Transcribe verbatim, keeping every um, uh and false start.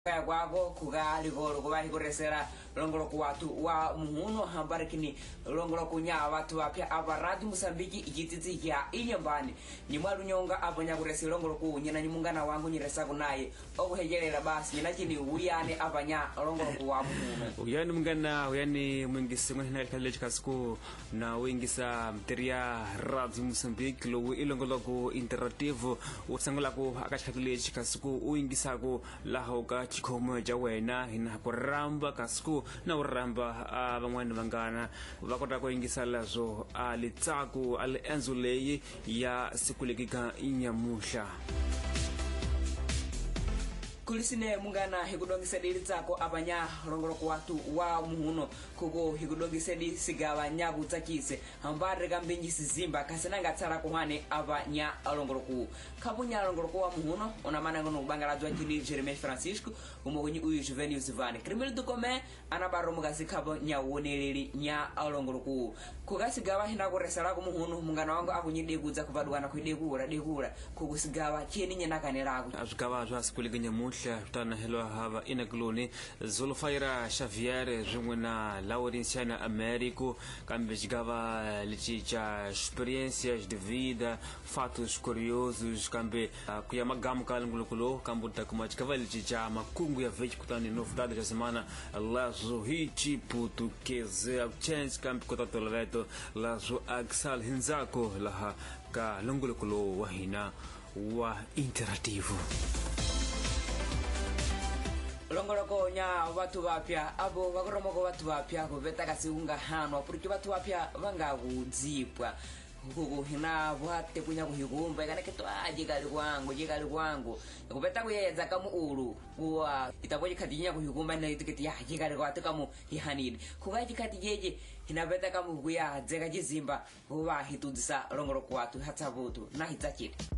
Kaya kwako kuka likolo kuva hikuresera longoloko watu wa muhuno hambarikini longoloko nya watu wapya apa Radio Mosambiki icitsitsi kya inyambani nyimwalunyonga apo nyakuresa longoloko nyina nyimungana wangu nyiresaku naye okuhejelela basi nyinachini wiyane apa nya longoloko wa muhuno. Uyani mungana uyani mwingisi n'wina khale chikasiku na wingisa mteria Radio Mosambiki lowu i longoloko interactive wu sangulaku aka xikhati lexi kasi u yingisaku laha ka xikhomo xa wena hina ku ramba kasi na u ramba a van'wani vanghana va kota ku yingisa leswo a litsaku a liendzo leyi ya siku leki ka nyamuhla. Kulisine mungana hikudongisedi tsako apanya longoloko watu wa muhuno kuko hikudongisedi sigava nyakutsakise hambare kambinji sizimba kasinanga tsara kuhane apanya longoloko kapunya longoloko wa muhuno onamana ngono kubangaladzwa chini Jeremias Francisco umokunyi uyu Juvenil Zivane Crimil do Comé anabaro mukasi kapo nyawoneleli nya longoloko kukasigava hinakuresala kumuhuno mungana wangu akunyidekudza kupadukana kuidekura dekura kukusigava cheni nyenakanelako. Swigava swa siku leki nyamuhla swi hava inakuloni Zulfaira Xavier swin'we na Laurenciana Américo kambe xigava lexi xa experiências de vida, fatos curiosos kambe ku ya magamu ka longoloko kambe u ta kuma xigava lexi xa makungu ya vhiki kutani novidade xa semana leswo hi chiputukeze change kambe kota toloveto leswo axal hindzako laha ka longoloko lowu wa hina wa interativo. Longoloko nya watu vapya abo vakoromoko watu vapya kuveta kasi ungahanwa porque watu vapya vangakudzipwa huku hina vwate kunya kuhikumba ikana ketwa jikali kwangu jikali kwangu kupeta kuyedza kamu ulu kuwa itapo jikhati nya kuhikumba na itiketi ya jikali kwatu kamu hihanini kuka jikhati jeje hinapeta kamu kuya dzeka chizimba huwa hitudzisa longoloko watu hatsavutu na hitsachiti.